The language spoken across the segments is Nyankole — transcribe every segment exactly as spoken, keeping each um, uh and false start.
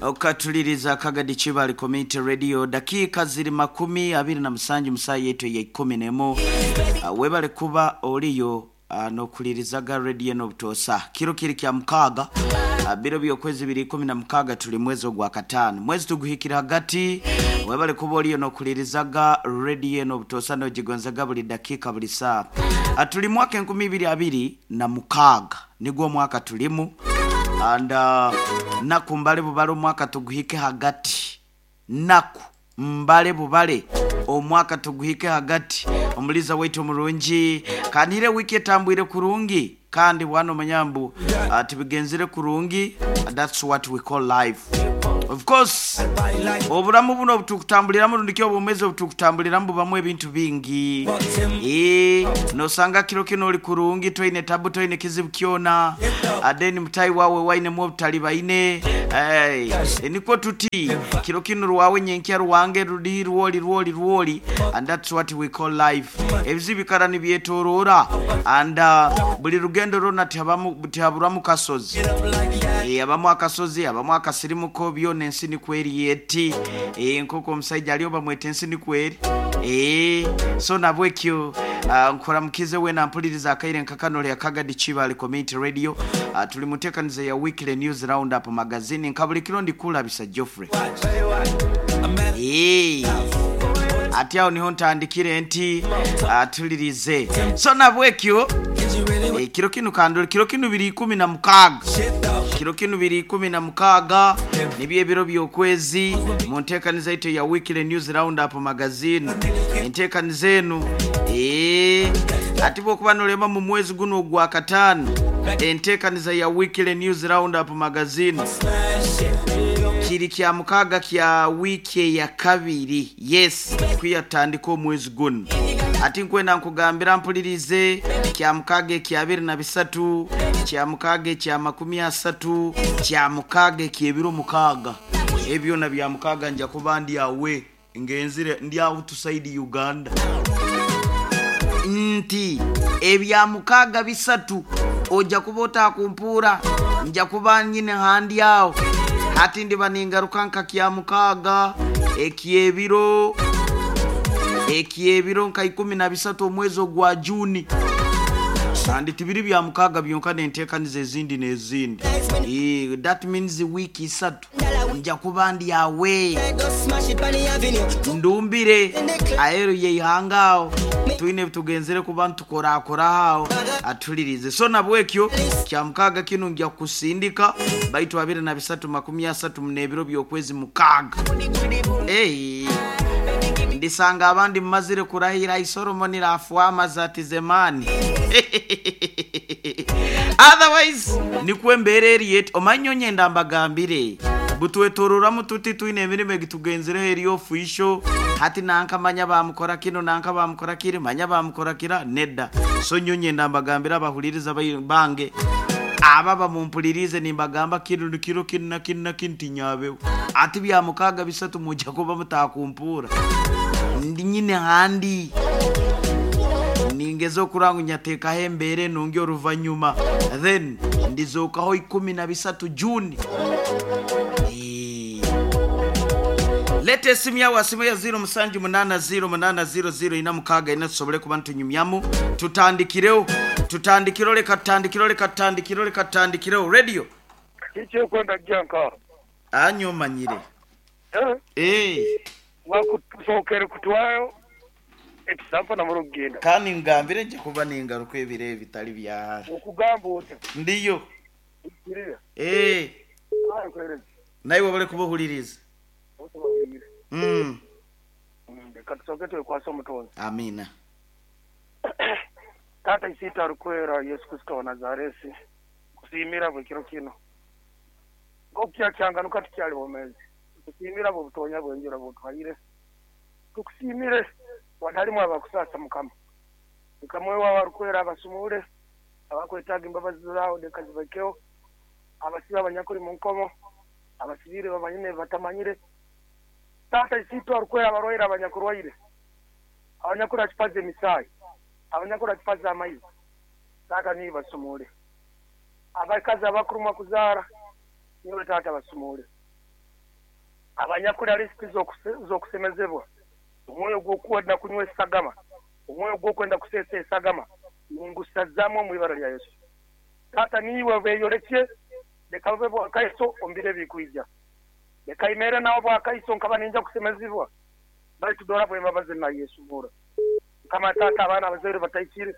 Okatuliriza Kagadi Kibale Community Radio, dakika ziri makumi abiri na musanju musaa yetu ya ikumi nemu. Uh, webale kuba oliyo uh, nokulirizaga radio n'obutosa kiro kiri kya mukaaga, uh, biro by'okwezi biri ikumi na mukaaga, tuli mwezi ogwa kataano, mwezi tuguhikira hagati. Webale kuba oliyo nokulirizaga radio n'obutosa nogigonzaga buli dakika, buli saa. uh, tuli mwaka enkumi ibiri abiri na mukaaga, nigwo mwaka tulimu, and uh, naku mbale bubale omwaka tuguhike hagati, naku mbale bubale omwaka tuguhike hagati. Omuliza waitu omurungi, kanire wiki etambwire kurungi, kandi bwana omanyambu uh, tibigenzire kurungi. That's what we call life. Of course, obulamu buno obutukutambuliramu, rundiki obumezi obutukutambuliramu, bubamu ebintu bingi. Eh, nosanga kiro kino oli kurungi, toine tabu, toine kizibu kyona, adeni mutayi wawe wainemu obutali baine. Hey, nikwo tuti kiro kino rwawe, nyenkya rwange, rudi rwoli rwoli rwoli, and that's what we call life. Ebizibu bikara nibyetorora, and uh, buli rugendo rwona tihabamu tihaburamu kasozi. Eh, abamu akasozi, abamu akasirimuko, byona ensi nikweri eti. Eh, nk'oku omusajja aliyo bamweta ensi nikweri. Eh, so nabwekyo uh, nkora wena mpuliriza akaire nkakano lya Kagadi Kibale Community Radio. uh, tuli mutekaniza ya Weekly News Roundup Magazine, nka buli kiro ndikulabisa Geoffrey. Eh, ati awo niho ntandikire nti uh, tulirize. So nabwekyo e, kiro kino kandole kiro kino biri ikumi na mukaaga, kiro kino biri ikumi na mukaaga, nibyo ebiro by'okwezi mu nteekaniza yaitu ya Weekly News Roundup Magazine. Enteekaniza enu, ee, ati bwokuba nolema mu mwezi guno ogwa kataano, enteekaniza ya Weekly News Roundup Magazine kiri kya mukaaga kya wiiki eya kabiri, yes, kwiyatandika omwezi guno. Ati nkwenda nkugambira mpulirize, kya mukaaga ekya abiri na bisatu, kya mukaaga ekya makumi asatu, kya mukaaga ekyebiro mukaaga, ebyona bya mukaaga nja kuba ndi awe ngenzire ndi outside Uganda. Nti ebya mukaaga bisatu ojja kuba otakumpuura, nja kuba nyine handi awo. Hati ndiba ningaruka nka kya mukaaga ekyebiro ekyebiro nka ikumi na bisatu omwezi ogwa Juni, kandi tibiri bya mukaaga byonka, nenteekaniza ezindi n'ezindi. Eh, that means wiiki isatu nja kuba ndi awe ndumbire aheru yeihanga aho twine tugenzere kuba ntukorakora aho atulirize. So nabwekyo kya mukaaga kino nja kusindika baitu abiri na bisatu makumi asatu munebiro by'okwezi mukaaga. Hey. Ndisanga abandi mumazire kurahira isolomoni rafuama zati zemani. Otherwise nikwo embeera eri eti omanye onyenda mbagambire butwetorora tuti twine emirimo egitugenzireho eri ofisho hati nanka manya bamukora kino, nanka bamukora kiri, manya bamukora kira nedda. So nyo nyenda mbagambira abahuliriza bange aba bamumpulirize, nimbagamba kino kiro kino na kino na kino tinyabeho. Ati bya mukaaga bisatu mujja kuba mutakumpura, ndi nyine handi ningeze okurangu nyateekaho embeera enungi oruvanyuma, then ndizookaho ikumi na bisatu Juni. Eh. Leta esimu yawe, asimu ya ziro musanju munana ziro munana ziro ziro ina mukaaga ina, tusobole kuba ntunyumyamu. Tutandikireho, tutandikireho, reka tutandikiro, reka tutandikiro, reka tutandikireho radio. Kiki janka? Anyo manyire. Eh? Eh. Wakusookere kutwayo ekisampa na murugenda. Kandi ngambire nje kuba ningaruka ebiro bitali byahara. Okugamba ota? Ndiyo. Kirira. Eh. Ayi kwereza. Naye wabale kubuhuliriza. Mm. Reka tusooke twekwase Omutonzi. Amina. Taata isiita arukwera Yesu Kristo wa Nazaresi, kusiimira bwe kiro kino nk'okukyakanganuka tukyali bomezi, tukusiimira bwe butonya bwenjura butwayire, tukusiimire watalimu abakusasa Mukama Mukama wewe abarukwera abasumule abakwetaaga imbabazi zaawe leka zibakeho, abasibe abanyakuri mu nkomo, abasibire bamanyine batamanyire. Taata isiita arukwera abarwaire abanyakurwaire, abanyakuri akipaza emisaayi, abanyakuri akipaza amaizi, taata niyo basumule, abakazi abakurumwa kuzaara niwe taata basumule. Abanyakuli lisiti z'okusemezebwa, omwoyo gw'okwenda kunywa esagama, omwoyo gw'okwenda kuseesa esagama, ningusazaamu omu ibara lya Yesu. Taata niiwe beeyorekye, leka bube bwakaiso omu biro ebikwija. Leka imere nawe bwakaiso nkaba ninja kusemezibwa, baitu dora bwembabazi na Yesu bura. Kama taata abaana abazaire bataikire,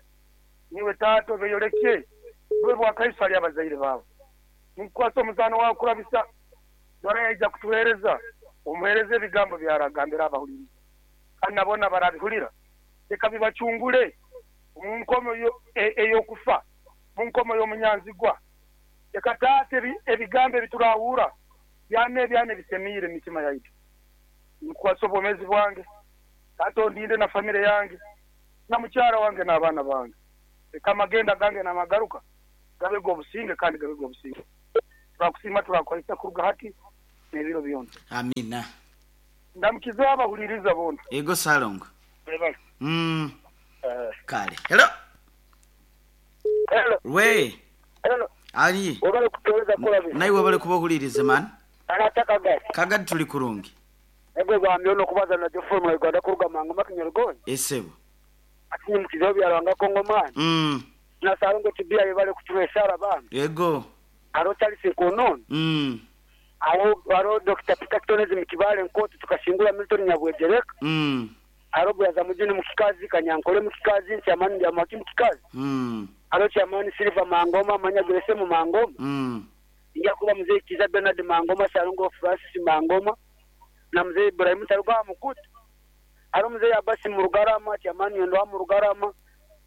niwe taata obeeyorekye, bube bwakaiso hali abazaire baabo. Ninkukwasa omuzaano wawe kurabisa, dora yaija kutuheereza, omuheereze ebigambo byaragambira abahuliriza. Kandi nabona barabihulira, leka bibacungule mu nkomo ey'okufa, mu nkomo y'omunyanzigwa. Leka taata ebigambo ebiturahura byana ebyana ebisemiire emitima yaitu. Nkukwasa obwomeezi bwange, taata ondinde na famire yange, na mukyara wange n'abaana bange. Leka amagenda gange n'amagaruka gabe g'obusinge kandi gabe g'obusinge. Turakusiima, turakwahisa kuruga hati n'ebiro byona. Amina. Ndamukiza abahuliriza bona. Ego Salongo. Webale. Mm. Uh, Kale. Hello. Hello. We. Hello. Ali. Webale kutuweza kulabi. Naye webale kubahuliriza man. Anataka gasi. Kagadi tuli kurungi. Ego bambi ono kubaza na Geoffrey mu Uganda kuruga mangu makinyarugoni. Esebo. Atinye mukizo byaranga Kongo man. Mm. Na Salongo tibia yebale kutuwesara bambi. Ego. Aro Charles Nkonon. Mm. Aro aro Doctor Peter Kitonezi mukibale nkoto tukashingula Milton Nyabwejereka. Mm. Aro bwaza mujini mukikazi Kanyankole mukikazi Chamani ya maki mukikazi. Mm. Aro Chamani Silva Mangoma Manya mu Mangoma. Mm. Inja kuba mzee Kiza Bernard Mangoma Salongo Francis Mangoma na mzee Ibrahim Taruga Mukutu. Aro mzee Abasi Murugarama Chamani ndo Murugarama.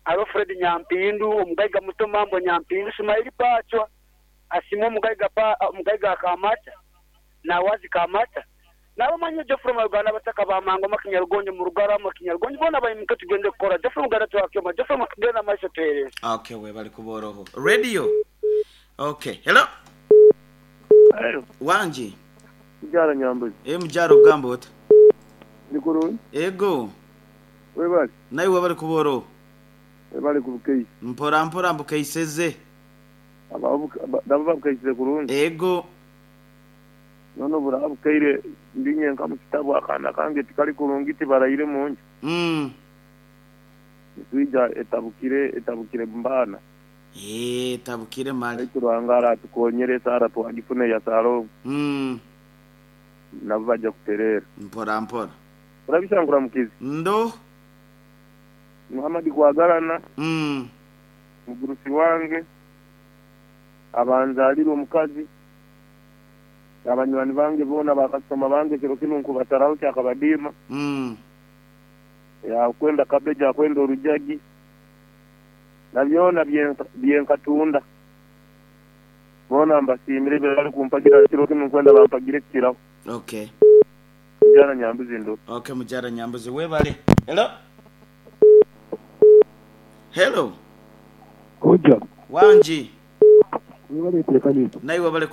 Aro Fred Nyampindu omugaiga muto mambo Nyampindu Sumaili Pachwa. Asimo mugaiga pa mugaiga Kamata na wazi Kamata. Nabo manye Geoffrey Uganda bataka ba Mangoma Kinyarugonjo mu Rugarama Kinyarugonjo bona bayimuke tugende kukora Geoffrey Uganda twakyoma Geoffrey makigenda maisho tuhereza. Okay, we bali kuboroho. Radio. Okay. Hello. Hello. Wanji. Mjara Nyambuzi. E mjara ugambo ota. Nikuru. Ego. We bali. Naye we bali kuboroho. We bali kubukei. Mpora mpora mbukeiseze. Aba daba bukeiseze kurungi. Ego. Nono burabukeire ndinye nka mukitabu akana kange tikali kurungi tibaraire munju. Mm. Nitwija etabukire etabukire mbana. Eh tabukire mali. Aitu rwangara tukonyere sara twagifune ya salo. Mm. Nabo baja kuterera. Mpora mpora. Urabishangura mukizi. Ndo Muhammad kwagalana. Mm. Mugurusi wange abanzalirwe omukazi. Abanywani bange bona bakasoma bange kiro kino nkubataraho kyakabadima. Mm. Ya kwenda kabeja kwenda orujagi. Nabyona byenkatunda. Bona mbasimire bali kumpagira kiro kino nkwenda bampagire kiraho. Okay. Mujara Nyambuzi ndo. Okay, mujara Nyambuzi webale. Hello. Hello. Koja. Wanji. Webale tekanisa. Naye webale.